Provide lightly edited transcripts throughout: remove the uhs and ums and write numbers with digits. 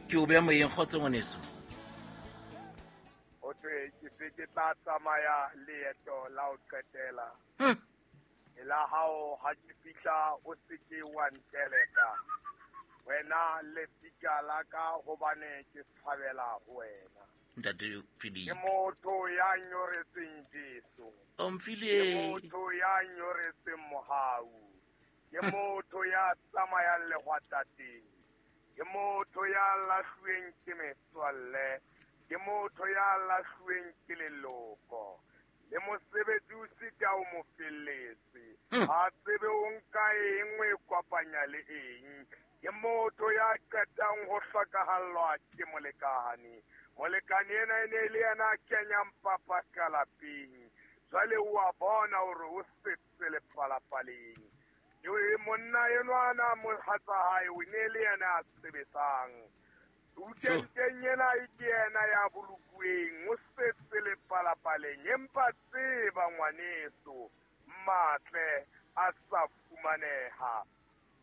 Ke o beya moyeng, kgotso ngwaneso. Ho thwe ke se ke tla tsamaya leeto la ho qetela. La hao ha ke fihla o se ke wa nteleka. Wena lefika la ka hobane ke tshabela ho wena. Ntate Philip. Ke motho ya nyoretsweng Jesu. O Ke mfile. motho ya nyoretsweng mohau. Ke motho ya tsamayang lehwatateng. Ke motho ya lahluweng ke metswalle. Ke motho ya lahluweng ke leloko. Le mosebetsi o sita o mo felletse. Ha tsebe o nka eng o e kopanya le eng. Ke motho ya qetang ho hlokahallwa ke molekane. Molekane ena e ne e le yena a kenyang papa ka lapeng. Jwale o a bona hore o setse lepalapaleng. Eo monna enwana mohatsa hae o ne le yena a sebetsang. Ukenteng ena e ke yena ya bolokuweng, o setse lepalapaleng. Empa tseba ngwaneso, matle a sa fumaneha.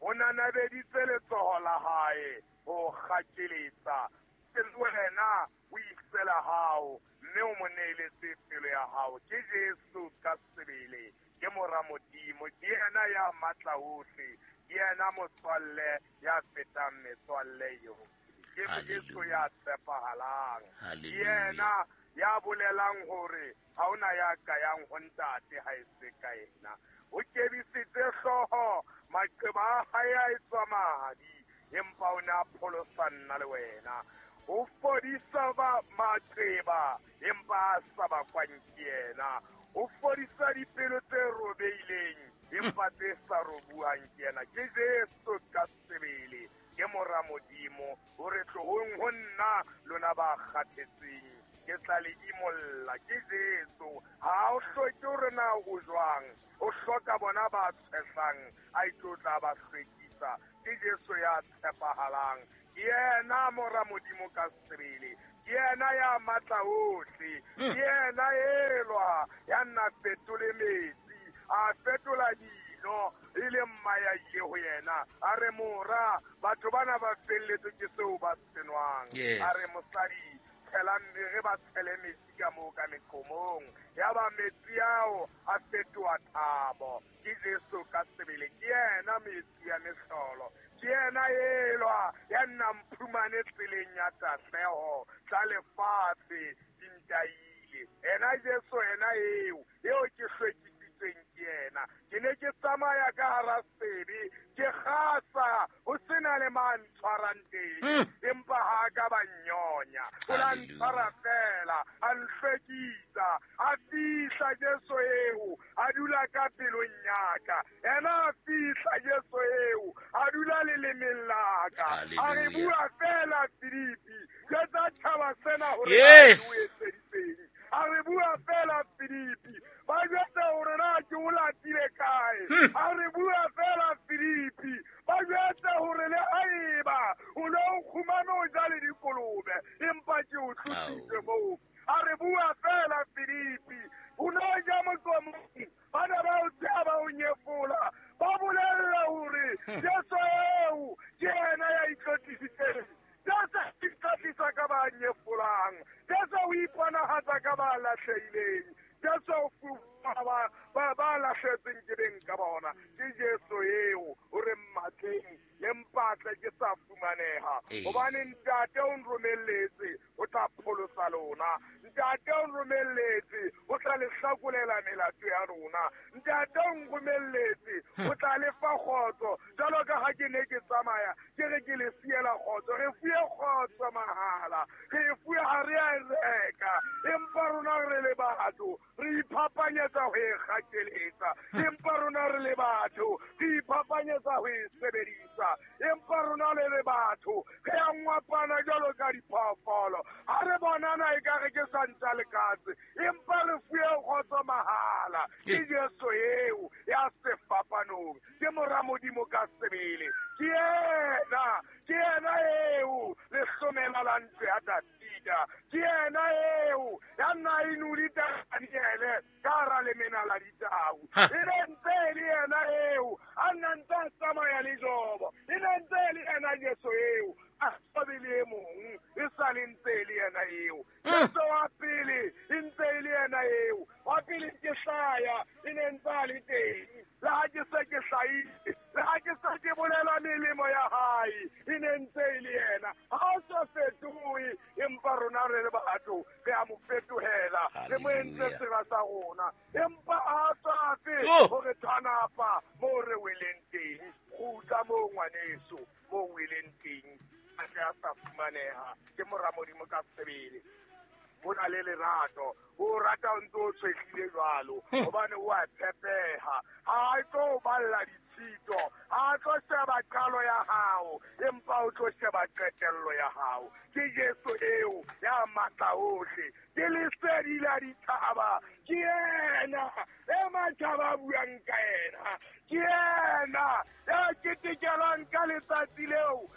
O nanabeditse letsoho la hae ho kgakeletsa. Ke wena o isela hao, mme o mo neeletse pelo ya hao. Ke Jesu ka sebele, ke mora Modimo, ke yena ya matla ohle, ke yena motswalle ya fetang metswalle yohle. Ke Jesu ya tshepahalang. Ke yena ya bolelang hore ha hona ya ka yang ho ntate ha e se ka yena. O kebisitse hlooho, maqeba a hae a etswa madi, empa o ne a pholosa nna le wena. O fodisa ba maqeba, empa a sa bakwang ke yena. O fodisa dipelo tse robeileng, empa tse sa robuwang ke yena. Ke Jesu ka sebele, ke mora Modimo. O re tlohong ho nna lona ba kgathetseng, ke tla le imolla. Ke Jesu. Ha o hloke hore na o jwang, o hloka bona ba tshehlang, a itlo tla ba hlwekisa. Ke Jesu ya tshepahalang. Ke yena mora Modimo ka sebele. Ke yena ya matla ohle. Ke yena elwa ya nna fetole metsi, a fetola dino, e le mma ya ile ho yena. A re mora, batho bana ba felletswe ke seo ba se nwang. A re mosadi, tshela re ba tshele metsi ka moo ka meqomong. Ya ba metsi ao a fetoha thabo. Ke Jesu ka sebele, ke yena metsi ya mehlolo. Ke yena elwa ya nna mphumane tseleng ya tahleho tsa lefatshe di ntaile. Ena Jesu ena eo, eo ke hlwekisitsweng ke yena. Ke ne ke tsamaya ka hara sebe, ke kgasa ho sena le mang tshwarang teng, empa ha ka ba nnyonya. O la ntshwara fela, a nhlwekisa, a fihla Jesu eo, a dula ka pelong ya ka. Ena a fihla Jesu eo, a dula lelemeng la ka. A re bua fela Filipi, jwetsa tjhaba sena hore Yes. o etseditseng. A re bua fela Filipi, ba jwetse hore na ke o latile kae. A re bua fela Filipi, ba jwetse hore le haeba o ne o kgumame o ja le dikolobe, empa ke o tlositse moo. A re bua fela Filipi, o ne o ja moqomong, ba ne ba o tseba ba o nyefola, ba bolella hore Jesu eo ke yena ya itlotlisitseng. Jesu o itlotlisa ka ba nyefolang. Jesu o iponahatsa ka ba lahlehileng. Jesu o fuwa ba lahletsweng ke beng ka bona. Ke Jesu eo o re mmatleng le mpatle ke sa fumaneha. Hobane ntate o nromelletse o tla pholosa lona. Ntate o nromelletse o tla le hlakolela melato ya rona. Ntate o nromelletse o tla le fa kgotso. Jwalo ka ha ke ne ke tsamaya ke re ke le siela kgotso. Re fuwe kgotso mahala, re fuwe ha re a e reka, empa rona re le batho re iphapanyetsa ho e kgakeletsa. Empa rona re le batho re iphapanyetsa ho e sebedisa. Empa rona le le batho re a ngwapana jwalo ka diphoofolo. Ha re bonana ekare ke sa ntja le katse, empa re fuwe kgotso mahala. Ke Jesu eo ya sefapanong, ke mora Modimo ka sebele. Ke yena eo lehlomela la ntlo ya Dafida. Ke yena eo ya nna inuli Daniele ka hara lemena la ditau. E ne ntse e le yena eo a nna ntse a tsamaya le Jobo. E ne ntse e le yena Jesu eo, a sa be le e mong. sale ntse e le yena eo. Jesu wa pele e ntse e le yena eo. Wa pele ke hlaya e ne ntse a le teng. Le ha ke se ke hlahile, le ha ke se ke bolela melemo ya hae, e ne ntse e le yena. Ha o sa fetohe, empa rona re le batho re a mo fetohela, re mo entse sera sa rona. Empa a tswafe hore tshwanapa moo re weleng teng. Kgutla moo ngwaneso, moo weleng teng. A tle a sa fumaneha ke mora Modimo ka sebele. Ho na le lerato, o rata o ntse o tshwehlile jwalo, hobane o a tshepeha. Ha a tlo o balla ditshito, ha a tlo sheba qalo ya hao, empa o tlo sheba qetello ya hao. Ke Jesu eo ya matla ohle, ke lesedi la ditjhaba, ke yena e matjhaba a buang ka yena, ke yena ya ketekelwang ka letsatsi leo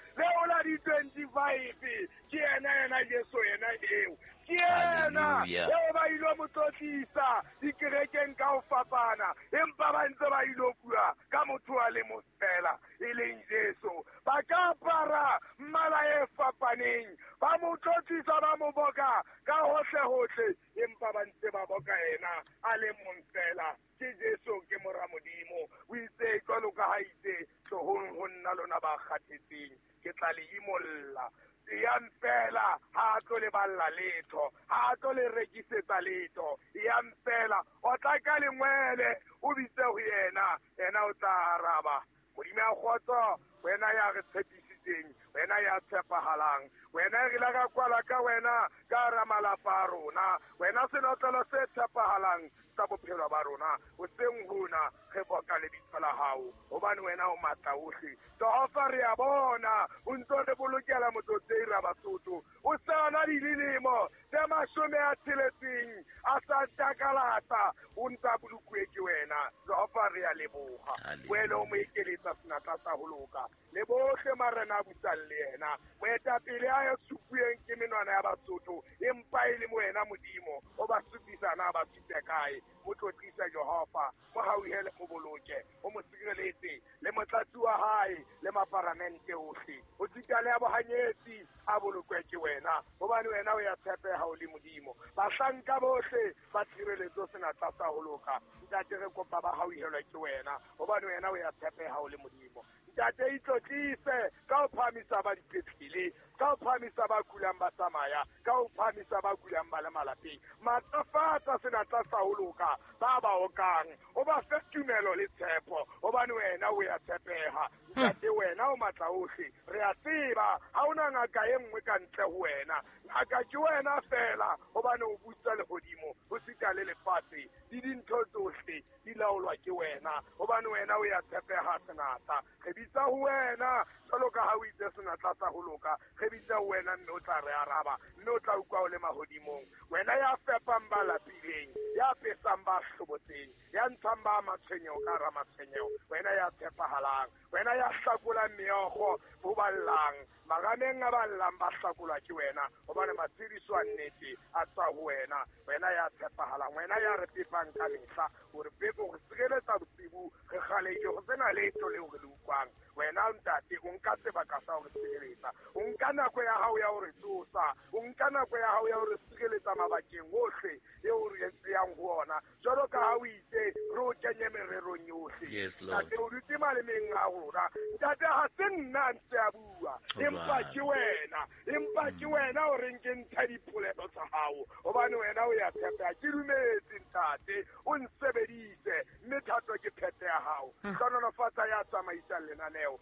la di-25. Ke yena yena Jesu yena eo. Ke yena eo ba ilo mo tlotlisa dikerekeng ka ho fapana, empa ba ntse ba ilo bua ka motho a le mong fela, e leng Jesu. Ba ka apara mmala e fapaneng, ba mo tlotlisa, ba mo boka ka hohle-hohle, empa ba ntse ba boka yena a le mong fela. Ke Jesu, ke mora Modimo. O itse jwalo ka ha itse, tlohong ho nna lona ba kgathetseng, ke tla le imolla. Yang fela, ha a tlo le balla letho, ha a tlo le rekisetsa letho. Yang fela, o tla ka lengwele, o bitse ho yena, yena o tla araba. Modimo ya kgotso, wena ya re tshepisitseng, wena ya tshepahalang, wena re la ka kwala ka wena ka hara malapa a rona, wena senotlolo se tshepahalang sa bophelo ba rona. Hoseng hona re boka lebitso la hao, hobane wena o matla ohle. Jehova, re a bona o ntso re bolokela motsotsei ra Basotho. O sa na dilemo tse 60 a sa takalata, o ntsa bolokuwe ke wena. Jehova, re a leboha. Wena o mo ekeletsa senatla sa ho loka, le bohle marena a busang le yena. Moetapele a ya supueng ke menwana ya Basotho, empa e le wena Modimo o ba supisa na ba supe kae. Mo tlotlisa Jehova, mo hauhele, mo boloke, o mo sireletse le motlatsi wa hae le maparamente ohle. O sita le ya bohanyetsi a bolokwe ke wena, hobane wena o ya tshepeha o le Modimo. Bahlanka bohle ba tshireletso senatla sa ho loka. Ntate, re kopa ba hauhelwe ke wena, hobane wena o ya tshepeha o le Modimo. Ntate, itlotlise ka ho phahamisa ba dipetlele, ka ho phahamisa ba kulang ba tsamaya, ka ho phahamisa ba kulang ba le malapeng. Matlafatsa senatla sa ho loka ba ba okang, o ba fe tumelo le tshepo, hobane wena o ya tshepeha. Ntate, wena o matla ohle, re a tseba ha ona ngaka e nngwe ka ntle ho wena. Ngaka ke wena fela, hobane o busa lehodimo, ho sita le lefatshe, le dintho tsohle di laolwa ke wena, hobane wena o ya tshepeha senatla. Re bitsa ho wena jwalo ka ha o itse senatla sa ho loka, re bitsa ho wena mme o tla re araba, mme o tla utlwa o le mahodimong. Wena ya fepang ba lapileng, ya pesang ba hlobotseng, ya ntshang ba matshwenyeho ka hara matshwenyeho, wena ya tshepahalang, wena ya hlakolang meokgo ho ba llang, marameng a ba llang ba hlakolwa ke wena, hobane matshediso a nnete a tswa ho wena. Wena ya tshepahalang, wena ya re pepang ka mehla, o re pepe, o re sireletsa bosibu, re kgaleke ho sena letho leo re le utlwang. Wena ntate, o nka sebaka sa ho re sireletsa, o nka nako ya hao ya ho re tsosa, o nka nako ya hao ya ho re sireletsa mabakeng ohle eo re yang ho ona, jwalo ka ha o itse re o kenye mererong yohle. Ntate, o dutse malemeng a rona. Ntate, ha se nna ntse a bua, empa ke wena, empa ke wena o reng ke ntsha dipolelo tsa hao, hobane wena o ya tshepeha. Ke dumetse ntate, o nsebedise, mme thato ke phethe ya hao. Hlohonolofatsa ya tsamaisang lenaneo,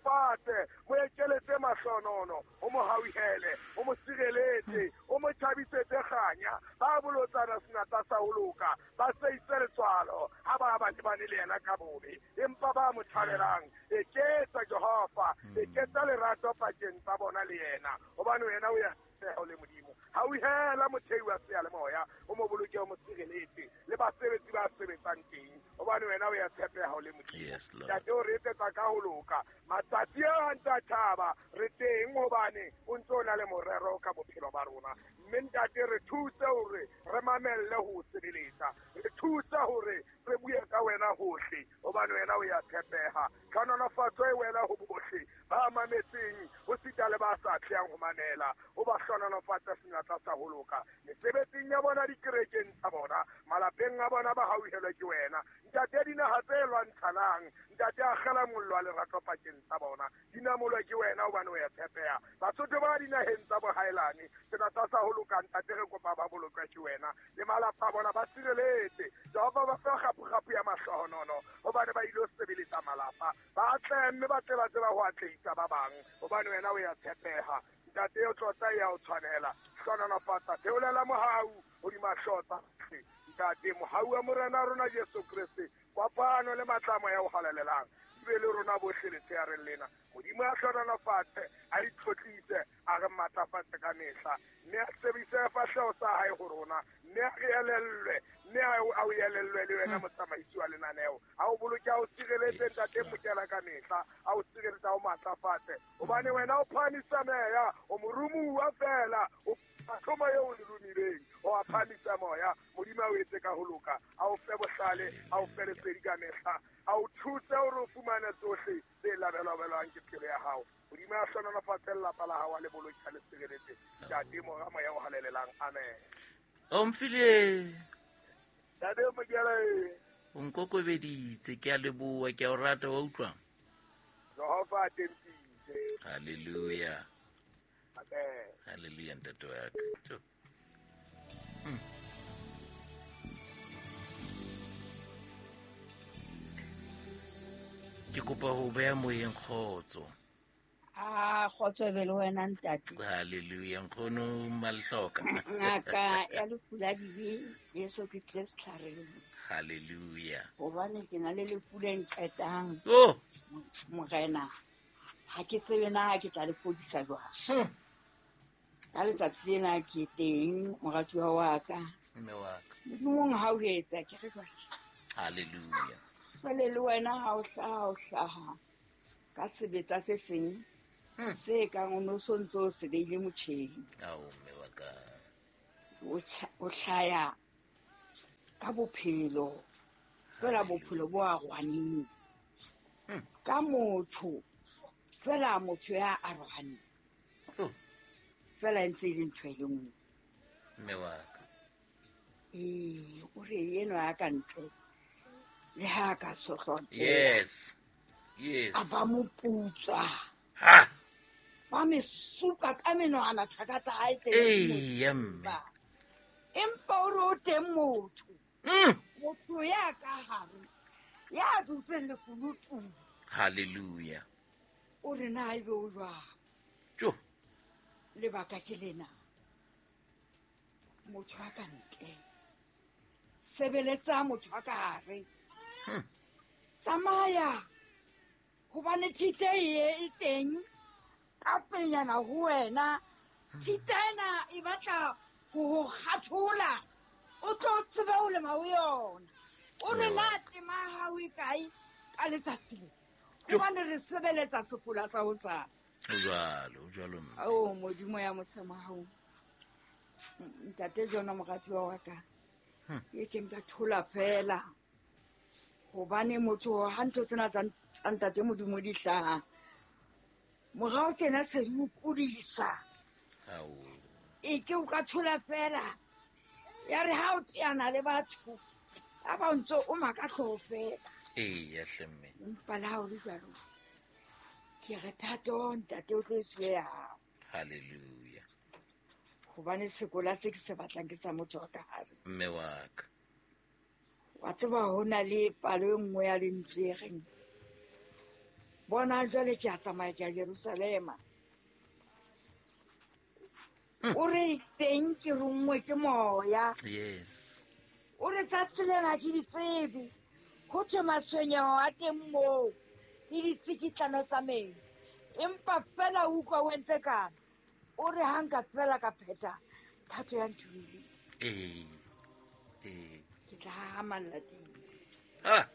fate mo ekeletse mahlonono, o mo hauhele, o mo sireletse, o mo thabisetse kganya. Ba bolotsana senatla sa ho loka, ba seitse letswalo ha ba ba lebane le yena ka bobe, empa ba mo thabelang. Eketsa Jehova, eketsa lerato pakeng tsa bona le yena, hobane wena o ya o le Modimo. Hauhela mothei wa seyalemoya, o mo boloke, o mo sireletse le basebetsi ba sebetsang teng, hobane wena o ya tshepeha o le Modimo. Ntate, o re etsetsa ka ho loka. Matsatsi a ntse a tjhaba, re teng hobane o ntse o na le morero ka bophelo ba rona. Mme ntate, re thuse hore re mamelle ho sebeletsa, re thuse hore re bue ka wena hohle, hobane wena o ya tshepeha. Tlhonolofatso e wela ho bohle. Ba mametseng ho sita le ba sa tlehang ho mamela, o ba hlohonolofatse senatla sa ho loka. Mesebetsing ya bona, dikerekeng tsa bona, malapeng a bona, ba hauhelwe ke wena. Ntate, dinaha tse lwantshanang, ntate, akgela mollo wa lerato pakeng tsa bona, di namolwe ke wena hobane o ya tshepeha. Basotho ba dinaheng tsa bohaelane, senatla sa ho loka, ntate, re kopa ba bolokwe ke wena le malapa a bona, ba sireletse. Jehova, ba fe kgapu-kgapu ya mahlohonono hobane ba ilo sebeletsa malapa. Ba tle mme ba tle ba tseba ho atlehisa ba bang hobane wena o ya tshepeha. Ntate, o tlotla e ya o tshwanela. Hlohonolofatsa, theolela mohau hodima hlooho tsa bohle. Ntate, mohau wa Morena rona Jesu Kreste, kopano le matla a moya o halalelang di be le rona bohle letsheareng lena. Modimo a hlohonolofatse, a itlhotlise, a re matlafatse ka mehla, mme a sebedise sefahleho sa hae ho rona, mme a re elellwe, mme a o elellwe le wena motsamaisi wa lenaneo. A o boloke, a o sireletse, ntate Mokela, ka mehla, a o sireletse, a o matlafatse, hobane wena o phahamisa meya, o morumuwa fela, o thomo eo o le romileng, o a phahamisa moya. Modimo a o etse ka ho loka, a o fe bohlale, a o fe lesedi ka mehla, a o thuse hore o fumane tsohle tse labelwabelwang ke pelo ya hao. Modimo a hlohonolofatse lelapa la hao, a le boloke, a le sireletse. Ntate, Mora, Moya o halalelang. Amen. Omphile. Ntate Mokela. O nkokobeditse, ke a leboha, ke a o rata, wa utlwa? Jehova a tempise. Hallelujah. Amen. Hallelujah, ntate wa ka. Ke kopa ho beha moyeng kgotso. A kgotso be le wena ntate. Hallelujah, nkgono Malhloka. Ngaka ya lefu la dibe, Jesu ke tlile setlhareng. Hallelujah. Hobane ke na le lefu le nqetang. Oh. Morena, ha ke tsebe na ke tla le fodisa jwang. Ka letsatsi lena ke teng, moratuwa wa ka. Mme wa ka. Modimong ha o etsa, ke re jwale. Hallelujah. Jwale le wena ha o hlaha, o hlaha ka sebetsa se seng se kang o no so ntse o se beile motjheng. Ao, mme wa ka. O hlaya ka bophelo, fela bophelo bo arohaneng. Ka motho, fela motho ya arohaneng. Fela e ntse e le ntho e le nngwe. Mme wa ka. Ee, o re enwa ya ka ntle, le ha ka sohlwa. Yes. Yes. A ba moputswa. Ha. Ba me supa ka menwana thaka tsa hae tse Ee, ya mme. Empa o re o teng motho. Motho ya ka hare, ya dutseng lekunutung. Hallelujah. O re na ebe o jwang? Jo. Lebaka ke lena. Motho a ka ntle. Sebeletsa motho a ka hare. Tsamaya. Hobane thite e teng ka pelenyana ho wena. Thite ena e batla ho kgathola. O tlo tsebe ho lema ho yona. O re na tema ya hao e kae ka letsatsi le? Hobane re sebeletsa sekola sa hosasa. O jwalo, o jwalo mme. Oh, Modimo ya mosemo hao. Ntate Jona moratuwa wa ka. E ke nka thola fela. Hobane motho ha ntho tsena tsa ntate Modimo di hlaha. Morao tjena se di o kudisa. Ao. E ke o ka thola fela. Ya re ha o teana le batho, ba ba ntse o maka hlooho fela. Ee, ya hle mme. Empa le ha o le jwalo, ke re thato ntate o tlo e tsuwe ya hao. Hallelujah. Hobane sekola se ke se batlang ke sa motho wa ka hare. Mme wa ka. Wa tseba ho na le palo e nngwe ya lentswe e reng, bona jwale ke a tsamaya ke ya Jerusalema. O re teng ke ronngwe ke moya. Yes. O re tsatsi lena ke di tsebe. Ho thwe matshwenyeho a teng moo le ditsikitlano tsa meno. Empa fela o utlwa o entse kang. O re ha nka fela ka phetha thato ya nthomileng. Ee. Ee. Ke tla hahamalla teng. Ah.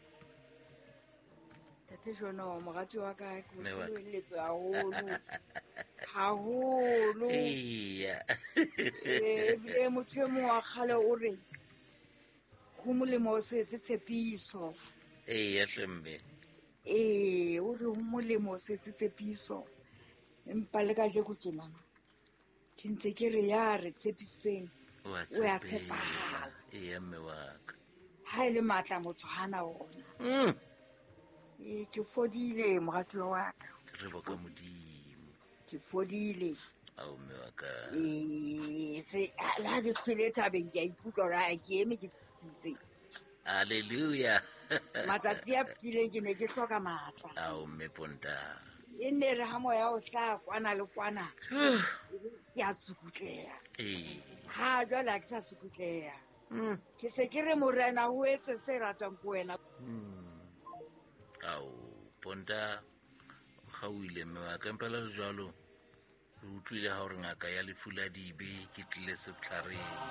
Ntate Jono, morati wa ka, ke o Mme wa ka. hlohoelletswe haholo. Haholo. Eya. Ee, ebile motho e mong wa kgale o re, ho molemo o se etse tshepiso. Eya, hle mme. Ee, o re ho molemo o setse tshepiso, empa le kajeko tjenana ke ntse ke re ya re tshepisitseng O a o ya tshepeha. tshepahala. Eya mme wa ka. Ha e le matla motho hana ona. Ee, ke fodile moratuwa wa ka. Re boka Modimo. Ke fodile. Ao mme wa ka. Ee, se le ha ke hlwele thabeng ke a ikutlwa hore ha ke eme ke tsitsitse. Hallelujah. Matsatsi a fetileng ke ne ke hloka matla. Ao mme Ponta. E nne re ha moya o hlaha kwana le kwana, ke a tsukutleha. Ee. Ha jwale ha ke sa tsukutleha. Ke se ke re morena ho etswe se ratwang ke wena. Ao Ponta o kgaohile mme wa ka, empa le jwalo re utlwile ha hore ngaka ya lefu la dibe ke tlile setlhareng.